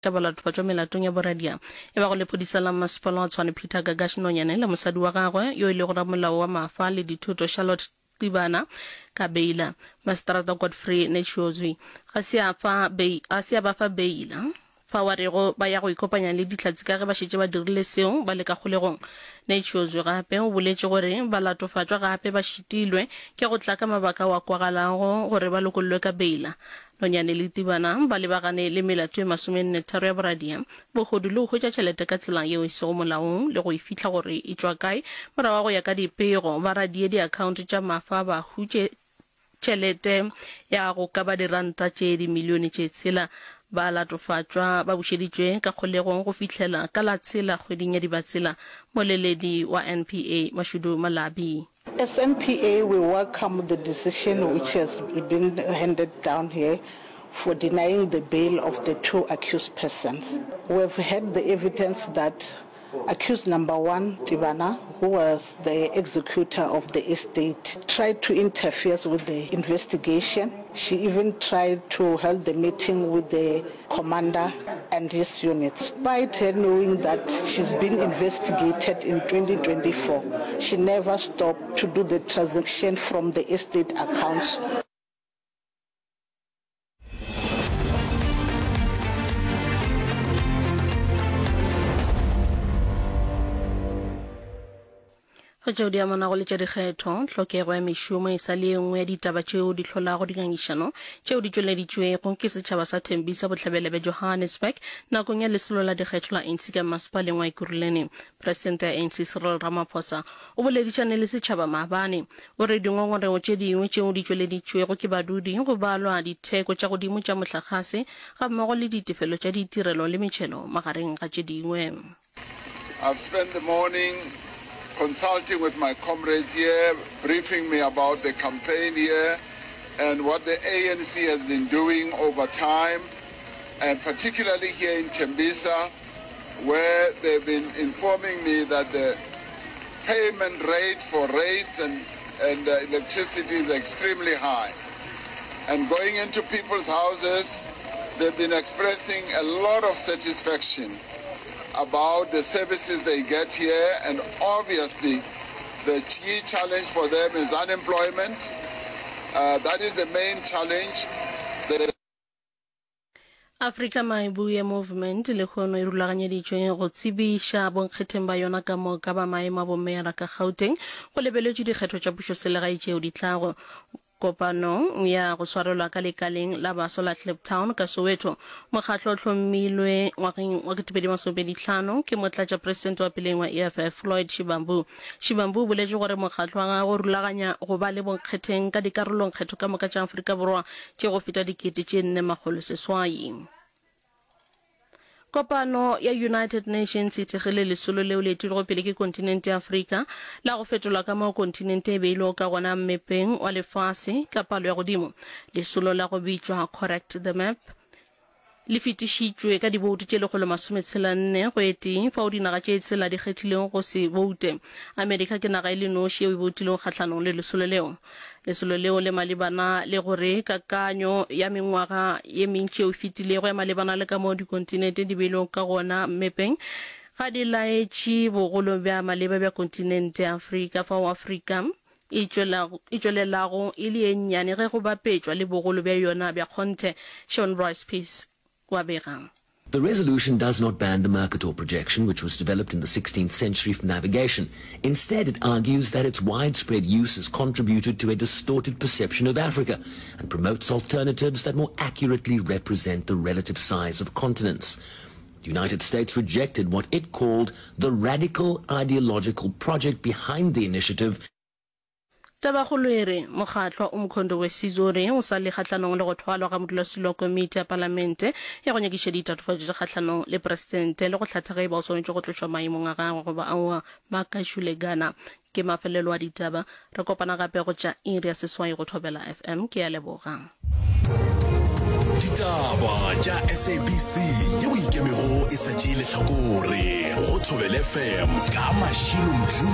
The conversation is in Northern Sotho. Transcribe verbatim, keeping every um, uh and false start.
Tša balatofatšwa melatong ya boradia e bago lephodisa la Mmasepala wa Tshwane Peter Gagash Nonyane le mosadi wa gagwe yo e lego ramolao wa mafa le dithoto Charlotte Tibana ka beila. Maseterata Godfrey Netshiozwi ga se a fa ga se a ba fa beila fao a rego ba ya go ikopanya le Dihlatse ka ge ba šetše ba dirile seo ba le ka kgolegong. Netshiozwi gape o boletše gore balatofatšwa gape ba šitilwe ke go tla ka mabaka ao a kwagalago gore ba lokollwe ka beila. Nonyane le Tibana ba lebagane le melato e masomenne-tharo ya boradia, bohodu le go hwetša tšhelete ka tsela yeo e sego molaong le go e fihla gore e tšwa kae. Morago ga go ya ka dipego, ba radie diakhaonto tša mafa ba hutše tšhelete ya go ka ba diranta tše dimilione tše tshela. Ba latofatšwa ba bušeditšwe ka kgolegong go fihlela ka la tshela kgweding ya Dibatsela. Moleledi wa N P A, Mashudu Malabi. As N P A, we welcome the decision which has been handed down here for denying the bail of the two accused persons. We have had the evidence that accused number one, Tibana, who was the executor of the estate, tried to interfere with the investigation. She even tried to hold the meeting with the commander and his unit. Despite her knowing that she's been investigated in twenty twenty-four, she never stopped to do the transaction from the estate accounts. Go tšeo di amanago le tša dikgetho, tlhokego ya mešomo e sa le ye nngwe ya ditaba tšeo di hlolago dingangišano tšeo di tšweleditšwego ke setšhaba sa Tembisa bohlabela bja Johannesburg nakong ya lesolo la dikgetho la A N C ka masepaleng wa Ekurhuleni. Presidente ya A N C Cyril Ramaphosa o boledišane le setšhaba maabane. O re dingongorego tše dingwe tšeo di tšweleditšwego ke badudi go balwa ditheko tša godimo tša mohlagase gammogo le ditefelo tša ditirelo le metšhelo magareng ga tše dingwe. I've spent the morning consulting with my comrades here, briefing me about the campaign here and what the A N C has been doing over time, and particularly here in Tembisa, where they've been informing me that the payment rate for rates and, and, uh, electricity is extremely high. And going into people's houses, they've been expressing a lot of satisfaction about the services they get here, and obviously the key challenge for them is unemployment. Uh, that is the main challenge. The Afrika Mayibuye Movement lehono e rulaganyeditšwe go tsebiša bonkgetheng ba yona ka moka ba maemo a bomeyara ka Gauteng go lebeletšwe dikgetho tša pušoselegae tšeo di tlago. Kopanong ya go swarelwa ka lekaleng la baswa la Kliptown ka Soweto, mokgatlo o hlomilwe ngwageng wa ketepedi masomepedi hlano ke motlatšapresidente wa peleng wa E F F Floyd Shivambu. Shivambu o boletše gore mokgatlo wa gagwe o rulaganya go ba le bonkgetheng ka dikarolongkgetho ka moka tša Afrika Borwa tše go feta dikete tše nne makgolo seswai. Kopano ya United Nations e thekgile lesolo leo le etilwego pele ke kontinente ya Afrika la go fetola ka moo kontinente e beilwego ka gona mmepeng wa lefase ka palo ya godimo. Lesolo la go bitšwa Correct the Map le fetišitšwe ka diboutu tše lekgolo masometshela nne go e tee, fao dinaga tše tshela di kgethilego go se boute. Amerika ke naga e le noši yeo e boutilego kgahlanong le lesolo leo. Lesolo leo le malebana le gore kakanyo ya mengwaga ye mentši yeo e fetilego ya malebana le ka moo dikontinente di beilwego ka gona mmepeng ga di laetše bogolo bja maleba bja kontinente ya Afrika, fao Afrika e tšwelelago e le ye nnyane ge go bapetšwa le bogolo bja yona bja kgonthe. Sean Bryce Peace wa bega. The resolution does not ban the Mercator projection, which was developed in the sixteenth century for navigation. Instead, it argues that its widespread use has contributed to a distorted perception of Africa and promotes alternatives that more accurately represent the relative size of continents. The United States rejected what it called the radical ideological project behind the initiative. Tabakgolo e re, Mokgatlo wa Umkhonto we Sizwe o re o sa le kgahlanong le go thwalwa ga modulasetulo wa komiti ya palamente ya go nyakiša ditatofatšo tša kgahlanong le presidente le go hlatha ge e ba o swanetše go tlošwa maemong a gagwe goba aowa. Makashule Gana. Ke mafelelo a ditaba. Re kopana gape go tša iri ya seswai go Thobela F M. Ke a leboga. Ditaba tša S A B C yeo ikemego e sa tšee lehlakore go Thobela F M ka Mashilo Mdluli.